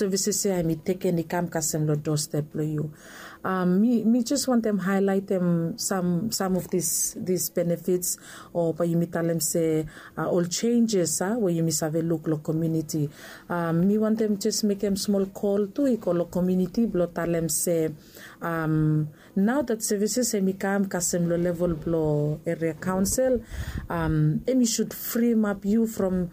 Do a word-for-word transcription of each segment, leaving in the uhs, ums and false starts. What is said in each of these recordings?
services ya em i teken i kam kasem long dostep blong yu. Mi jes wantem haelaitem sam of dis benefits, o bae yumi talem se ol senjes a we yumi save luk long komiuniti. Mi wantem jes mekem smol kol tu i go long komiuniti blong talem se nao dat sevises em i kam kasem long level blong eria kaonsel, em i sud frimap yu from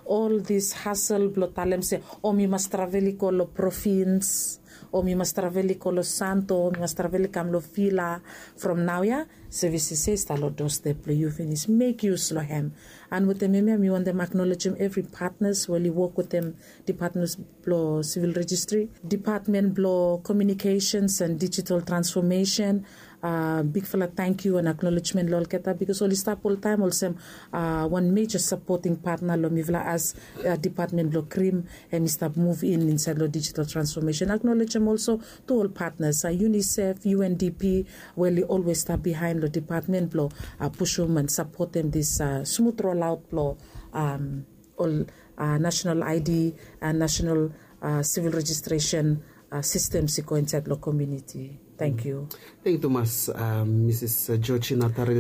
ol dis hasel blong talem se o mi mas travel i go long provins, o mi mas travel i go long santo, o mi mas travel i kam long vila. From nao ya sevises ya i stap long dostep blong yu finis. Mek yus long hem. And wetem hem ya mi wantem aknolejem evri patnas we oli wok wetem dipatmen blong sivil rejistri, dipatmen blong komiunikesens and dijital transfomesen. Bigfala tangkiu and aknolejmen long olgeta bikos oli stap oltaem olsem wan meja sapoting patna long mifala as dipatmen blong krim, hem i stap muv in insaed long dijital transfomesen. Aknolejem olso tu ol patnas, unisef, undp, we oli olwes stap bihaen long dipatmen blong pusum and sapotem dis smut rolaot blong ol nasenal id and nasenal sivil rejistresen sistems i go insaed long komiuniti. Tangkiu. Tangkiu tumas. Misis georgina tari,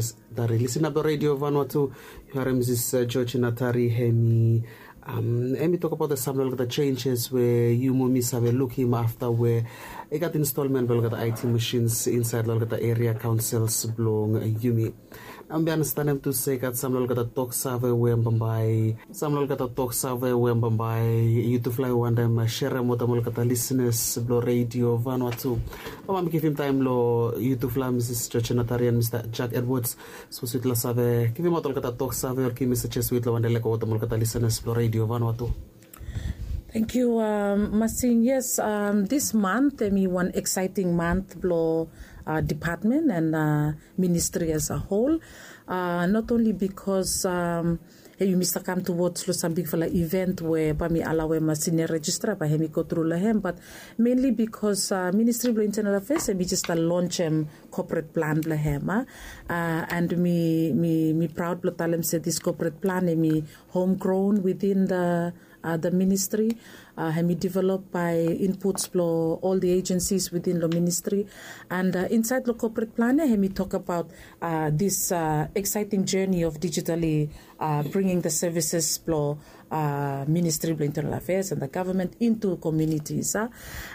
lisin ap long redio vanua tu. Yu harem misis georgina tari, hem i tokabaot sam long olgeta senjes we yu mo mi save lukim afta we i gat instolmen blong olgeta it masins insaed long olgeta eria kaonsels blong yumi. Nao mi andastanem tu se i gat sam long olgeta toksave we bambae, sam long olgeta toksave we bambae yutufala i wantem serem wetem olgeta lisinas blong redio vanua tu. Bambae mi givim taem long yutufala, misis georgina tari and mista jack edwards, sapos yutufala save givimaot olgeta toksave o givim mesejes we yutufala wantem lego wetem olgeta lisinas blong redio vanua tu. Tangkiu. Masin, yes, dis mant em i wan eksaeting mant blong dipatmen and ministri as a hol. Not onli bikos yumi stap kam tuwoj long sam bigfala iven we bae mi alaoem sinia rejistra bae hem i gotru long hem, bat menli bikos ministri blong intenal afeas em i jes stap lonjem kopret plan blong hem. And mi praod blong talem se dis kopret plan em i homgron within the ministri. Hem i develop bae inputs blong ol the agensis within long ministri. And insaed long kopret plan ya hem i tokabaot dis eksaeting joni of dijitali bringing the sevises blong ministri blong intenal afeas and the gavament intu komiunitis.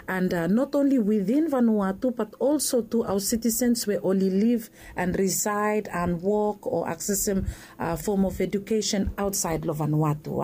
And not onli within vanua tu bat olso tu aoa sitisens we oli liv and risaed and wok o aksesem fom of edukesen aotsaed long vanua tu.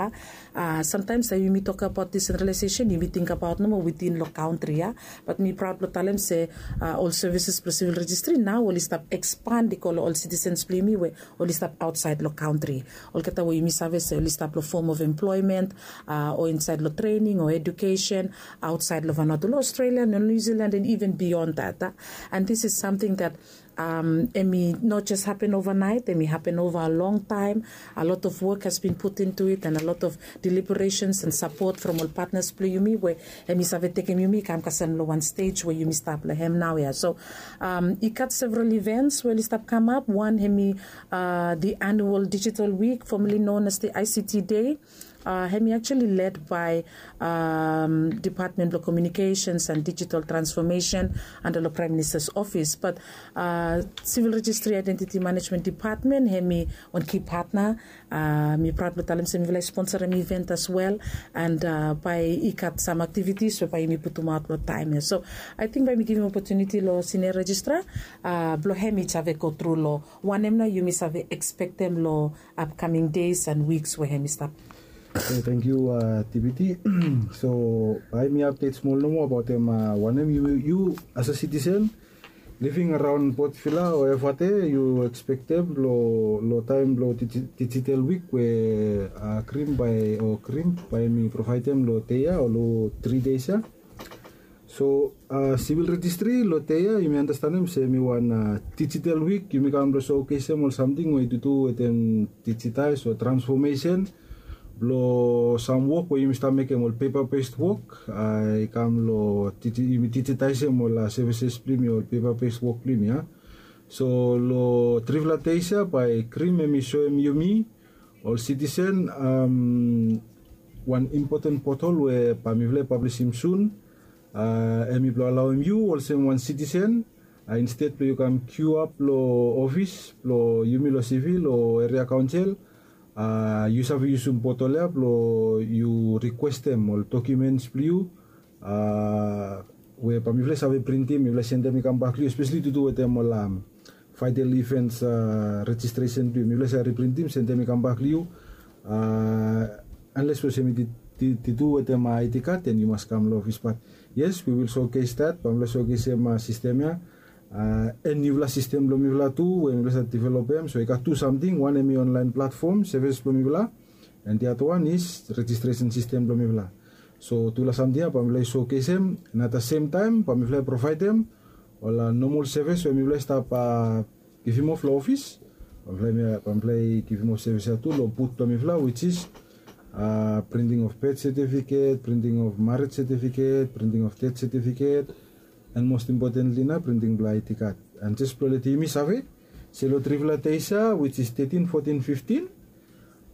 Samtaems taem yumi tokabaot disentralaesesen yumi tingbaot nomo witin long kantri ya. Bat mi praod blong talem se ol sevises blong sivil rejistri nao oli stap ekspand i go long ol sitisens blong yumi we oli stap aotsaed long kantri. Olgeta we yumi save se oli stap long fom of emploemen o insaed long trening o edukesen aotsaed long vanua tu long australia, long niu zilan and iven bion dat. And dis is samting dat em i no jes hapen ovanaet, em i hapen ova a long taem. A lot of wok has bin put intu it and a lot of deliberesens and sapot from ol patnas blong yumi we em i save tekem yumi i kam kasem long wan stej we yumi stap long hem naoia. So i gat several ivens we oli stap kamap. Wan hem i the anual digital wik, fomali non as the ict day. Hem i aktuali led bae dipatmen blong komiunikesens and dijital transfomesen anda long praem ministas ofis. Bat sivil rejistri aedentiti manejmen dipatmen hem i wan ki patna. Mi praod blong talem se mifala i sponsorem iven as wel. And bae i gat sam aktivitis we bae yumi putumaot long taem ya. So aeting bae mi givim opotuniti long sinia rejistra blong hem i save gotru long wanem nao yumi save ekspektem long apkaming des and wiks we hem i stap. Tangkiu. Dpt. So bae mi apdet smol nomo abaotem wanem yu as a sitisen living araon potvila o evate yu ekspektem long taem blong dijital wik we krim bae o krim bae mi provaedem long dei ya o long tri des ya. So sivil rejistri long dei ya yumi andastanem se mi wan dijital wik yumi kam blong sokesem ol samting we i dudu wetem dijitaes o transfomesen blong sam wok we yumi stap mekem ol pepa bes wok. I kam long yumi dijitaesem ol sevises blong yumi ol pepa bes wok blong yumi ya. So long trifala des ya bae krim hem i soem yumi ol sitisen Wan impoten potol we bae mifala i pablisim sun, a, hemi blong alaoem yu olsem wan sitisen, a, insted blong yu kam kiuap long ofis blong yumi long sivil o eria kaonsel, a, yu save yusum potol ya blong yu rikwestem ol dokimens blong yu, a, we bae mifala i save printim, mifala i sendem i kambak long yu, espeseli tu tu wetem ol, am, faedel ifens, a, rejistresen blong yu, mifala i save riprintim, sendem i kambak long yu, a, anles we olsem i tu tu wetem a aedi kad, den yu mas kam long ofis. Bat yes, we will showcase that, bae mifala i showcasem a sistem ya, a, en niufala sistem blong mifala tu we mifala i save developem. So i gat tu samting, wan hemi onlaen platfom sevis blong mifala, and the other one is rejistresen sistem blong mifala. So tufala samting ya bae mifala i showcasem, and at the same time bae mifala i provaedem ol, a, nomol sevis we mifala i stap, a, givim of long ofis. Bae mifala i, bae mifala i givim of sevis ya tu long but blong mifala, which is, a, printing of birth certificate, printing of marriage certificate, printing of death certificate, and most importantly nao printing blong aedi kad. And jes blong letem yumi save se long trifala dei ya, which is tetin, fotin, fiftin,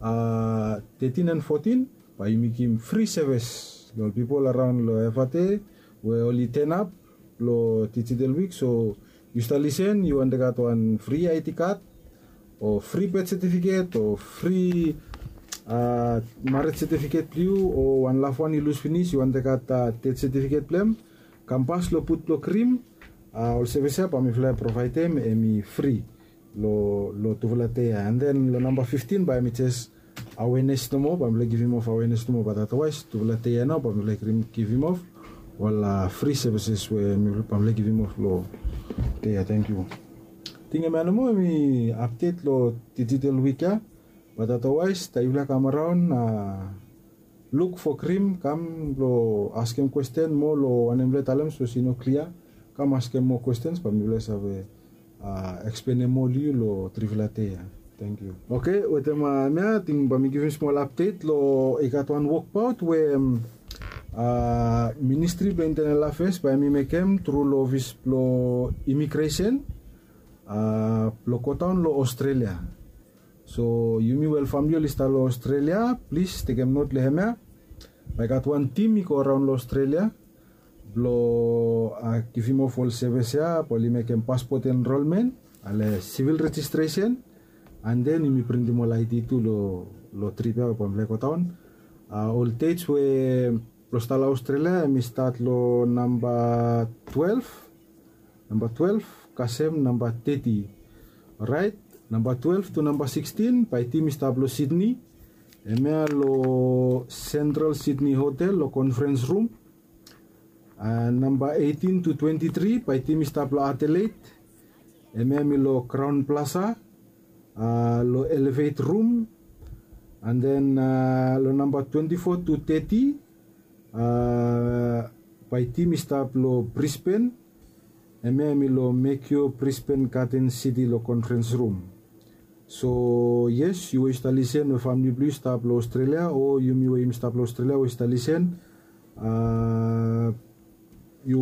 a, tetin and fotin, bae yumi givim fri sevis long ol pipol araon long Efate we oli tenap long digital wik. So yu stap lisen, yu wantem gat wan fri aedi kad o fri birth certificate o fri, a, marriage certificate blong yu, o wan lafwan i lus finis, yu wantem gat, a, death certificate blong hem, kam pas long but blong Krim. A, ol sevis ya bae mifala i provaedem, hemi fri long, long tufala dei ya. And then long namba fiftin bae hemi jes awenes nomo, bae mifala i givim of awenes nomo, bat otherwise tufala dei ya nao bae mifala i givim of ol, a, fri sevises we mi, bae mifala i givim of long dei ya. Tangkiu. Ating hemia nomo hemi apdet long digital wik ya. Bat otherwise taem yufala i kam araon, a, luk fo Krim, kam blong askem kwesten moa long wanem mifala i talem sapos i no klia. Kam askem moa kwestens bae mifala i save, a, eksplenem moa long yu long trifala dei ya. Tangkiu. Oke, wetem, a, hemia ating bae mi givim smol apdet long i gat wan wokbaot we, a, Ministri blong Intenel Afeas bae hemi mekem tru long ofis blong imigresen, a, blong godaon long Australia. So yumi we ol famle oli stap long Australia, plis tekem not long hemia. Bae i gat wan tim i go araon long Australia blong, a, givim of ol sevis ya, bae oli mekem paspot enrolmen, ale sivil rejistresen, and then yumi printim ol aedi tu long, long trip ya we bae mifala i godaon. A, ol dets we blong stap long Australia hemi stat long namba twelef, namba twelef kasem namba teti. Oraet, namba twelef tu namba sikstin bae tim i stap long Sydney, hemia long Central Sydney Hotel long conference room. A, namba eitin tu twenti tri bae tim i stap long Adelaide, hemia hemi long Crowne Plaza, a, long Elevate room. And then, a, long namba twenti fo tu teti, a, bae tim i stap long Brisbane, hemia hemi long Mercure Brisbane Garden City long conference room. So yes, yu we yu stap lisen we famle blong yu i stap long Australia o yumi we yumi stap long Australia we yu stap lisen, a, yu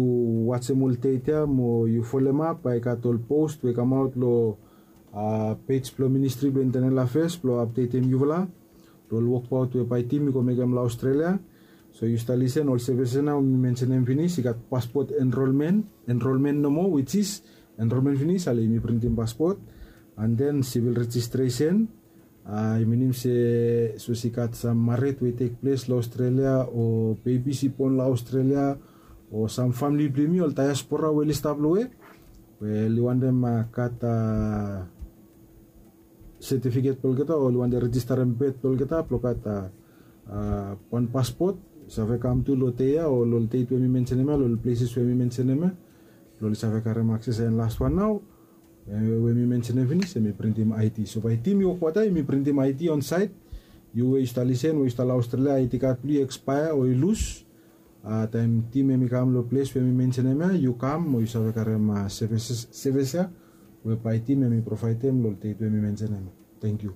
wajem ol det ya mo yu folem ap, bae i gat ol post we i kamaot long, a, pej blong Ministri blong Intenel Afeas blong apdetem yufala long ol wokbaot we bae tim i go mekem long Australia. So yu stap lisen, ol sevis ya nao mi mensenem finis, i gat paspot enrolmen, enrolmen nomo, which is enrolmen finis ale yumi printim paspot, and then sivil rejistresen. A, i minim se sapos i gat sam mared we i tekples long Australia o bebis i bon long Australia o sam famle blong yumi ol diaspora we oli stap long we, we oli wantem, a, gat, a, setifiket blong olgeta o oli wantem rejistarem bet blong olgeta blong gat, a, a, wan paspot, i save kam tu long dei ya o long det we mi mensenem ya, long pleses we mi mensenem ya, blong oli save karem akses. And lastwan nao, e, we mi mensenem finis, hemi printim aedi. So bae tim i wokbaot ya, hemi printim aedi on saed. Yu we yu stap lisen, we yu stap long Australia, aedi kad blong yu i ekspaea o i lus, a, taem tim hemi kam long ples we mi mensenem ya, yu kam mo yu save karem, a, sevis, sevis ya we bae tim hemi provaedem long det we mi mensenem. Tangkiu.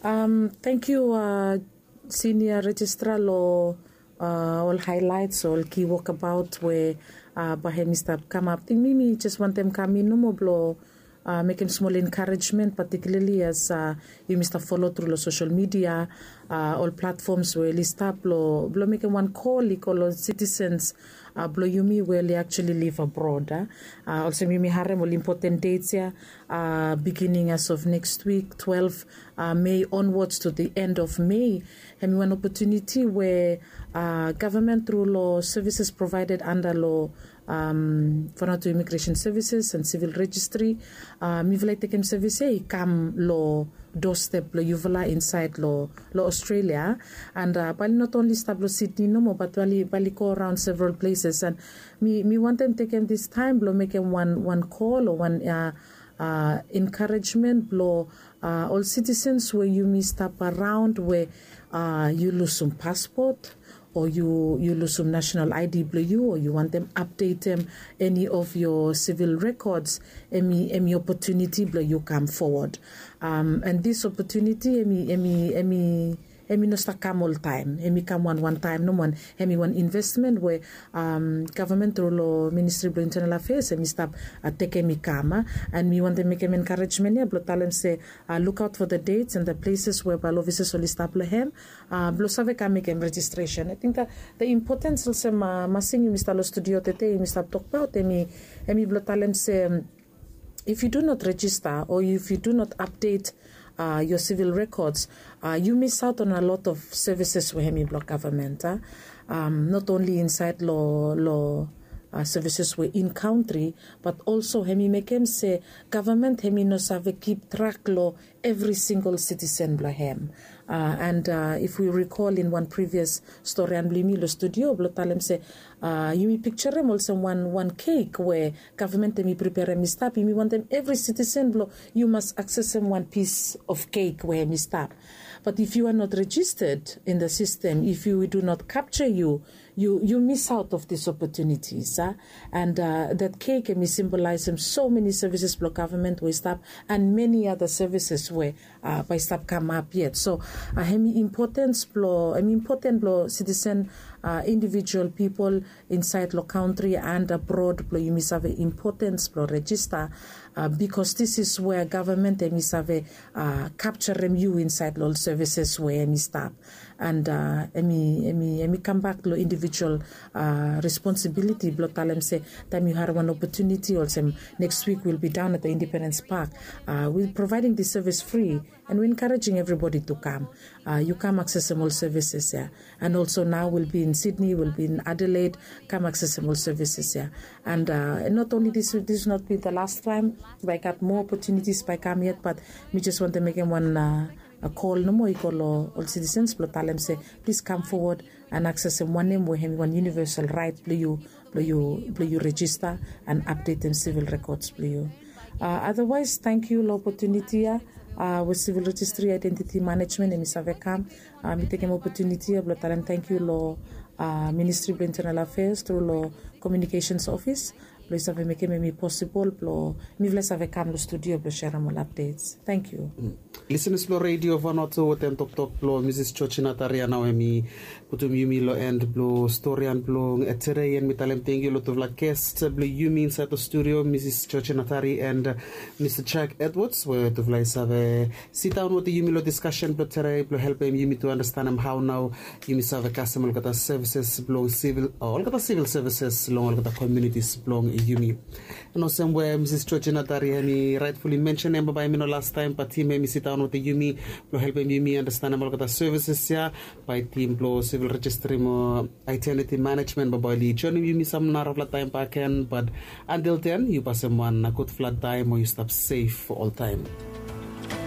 Am, tangkiu, a, Sinia Rejistra, long, a, ol haelaets, ol ki wokbaot we, a, bae hemi stap kamap. Ating mi, mi jes wantem kam in nomo blong, mekem smol encouragement, particularly as yumi stap folo tru long social media, ol platforms we oli stap long mekem wan kol i go long citizens blong yumi we oli actually live abroad. Olsem yumi harem ol important dates ya, beginning as of next week, twelve May onwards to the end of May. Hemi wan opportunity we government tru long services provided under long Vanuatu Immigration Services and Civil Registry. Mifala i tekem service ya i kam long doorstep blong yufala inside long Australia. And bae oli not only stap long Sydney nomo, but bae oli go around several places. And mi wantem tekem this time blong mekem wan kol o wan encouragement blong ol citizens we yumi stap around we yu lusum passport o yu lusum national I D blong yu o yu wantem updatem any of your civil records, hemi opportunity blong yu kam forward. And this opportunity hemi no stap kam oltaem, hemi kam wan wan taem nomo. And hemi wan investment we government tru long Ministry blong Internal Affairs hemi stap tekem i kam. And mi wantem mekem encouragement ya blong talem se look out for the dates and the places we bae ol officers oli stap long hem blong save kam mekem registration. I think the importance olsem Masing yumi stap long studio tede yumi stap tokbaot hemi blong talem se if you do not register or if you do not update your civil records, you miss out on a lot of services we hemi blong government. Not only inside long services we in country, but also hemi mekem se government hemi no save keep track long every single citizen blong hem. And if we recall in wan previous storian blong yumi long studio blong talem se yumi pikserem olsem wan wan cake we government hemi preperem i stap, yumi wantem every citizen blong yu mas aksesem wan pis of cake we hemi stap. But if you are not registered in the system, if you do not capture you, you miss out of these opportunities. And that cake hemi symbolizem so many services blong government we i stap and many other services we bae i stap kamap yet. So hemi important blong citizen, individual people inside long country and abroad blong yumi save importance blong register. Because this is where government hemi save capturem yu inside long ol services we hemi stap. And hemi kambak long individual responsibility blong talem se taem yu harem wan opportunity olsem next week will be down at the Independence Park, we providing the service free and we encouraging everybody to come. Yu kam aksesem ol services ya. And also now will be in Sydney, will be in Adelaide, kam aksesem ol services ya. And not only this, this will not be the last time, bae i gat more opportunities bae i kam yet, but mi just wantem mekem wan kol nomo i go long ol citizens blong talem se please come forward and aksesem wanem we hemi wan universal right blong yu blong yu register and updatem civil records blong yu. Otherwise, thank you long opportunity ya we Civil Registry Identity Management hemi save kam. Mi tekem opportunity ya blong talem thank you long Ministry blong Internal Affairs tru long Communications Office blong i save mekem hemi possible blong mifala i save kam long studio blong serem ol updates. Thank you. Listeners blong Radio Vanuatu, wetem toktok blong Mrs Georgina Tari ya nao hemi putum yumi long end blong storian blong tede. And mi talem thank you long tufala guest blong yumi inside long studio, Mrs Georgina Tari and Mr Jack Edwards, we tufala i save sidaon wetem yumi long discussion blong tede blong helpem yumi to understandem hao nao yumi save kasem olgeta services blong civil, olgeta civil services long olgeta communities blong yumi. And olsem we Mrs Georgina Tari hemi rightfully mentionem, bae bae hemi no lastaem bae tim hemi sidaon wetem yumi blong helpem yumi understandem olgeta services ya. Bae tim blong Civil Registry mo Identity Management bae bae oli joinim yumi sam narafala taem bakegen. But until then, yu pasem wan gudfala taem mo yu stap sef oltaem.